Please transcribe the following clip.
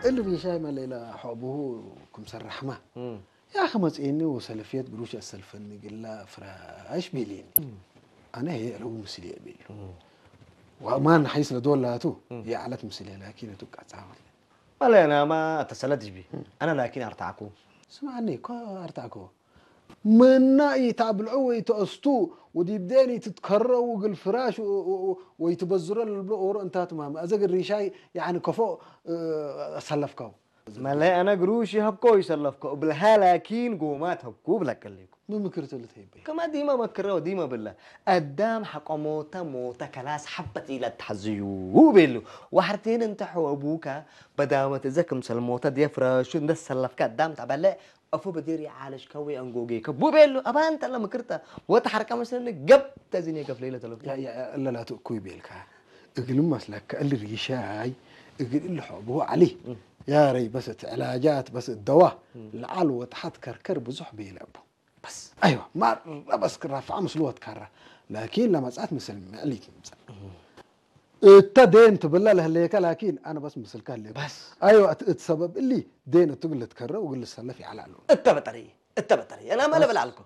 እልም ይሻይ መለይላ ሖብሁ ክምሰራሕማ ያኸ መጽኤኒ ወሰለፍየት ግሩሽ ኣሰልፈኒ ግላ ፍራሽ ቢሊኒ ኣነ ሄ ረቡ ምስል የቢሉ ወማን ሓይስ ለዶላቱ የዓለት ምስል ላኪን ቱ ቃጻ ولا أنا ما أتسلتش بي أنا لكن أرتعكو ስማዕኒ እኮ ኣርታዕኮ መና ይታብልዑ ወይ ተእስቱ ወዲብ ዴን ይትትከረው ግል ፍራሽ ወይ ትበዝሮ ልብሎ ኦሮ እንታት ማም ኣዘ ግሪሻይ ያኒ ከፎ ሰለፍካው ملا أنا قروشي هبكو يسلفكو بالها لكن قومات هبكو بلك الليكو ምምክርትልት ይበይ كما ديما مكرو ديما بالله أدام حق موتا موتا كلاس حبت إلى تحزيو بيلو وحرتين انت حو أبوكا بدامة زكم سلموتا دي فراشو ندس سلفكا أدام تعبالي أفو بدير يعالج كوي أنقوقي كبو بيلو أبان تلا مكرتا وتحركا مثلا قب تزيني كف ليلة تلو እለላቱ እኮ ይቤልካ እግል መስለካ እል ሪሻይ እግል እል ሖብሁ ዓሊ ያረይ በስ እቲ ዕላጃት በስ ደዋ ለዓል ወትሓት ከርከር ብዙሕ ቤለ ኣቦ بس ኣይዋ ማራ በስ ክራፍዓ ምስሉ ወትካራ ላኪን ለመጻት ምስል ምዕሊት ምጻ እተ ዴን ትብላ ለህለየካ ላኪን ኣነ በስ ምስልካ ህለየካ بس ኣይዋ እቲ እቲ ሰበብ እሊ ዴን እቱ ግል ትከረ ውግል ሰለፍ ይዓላሉ التبتري التبتري أنا ما لبل علكم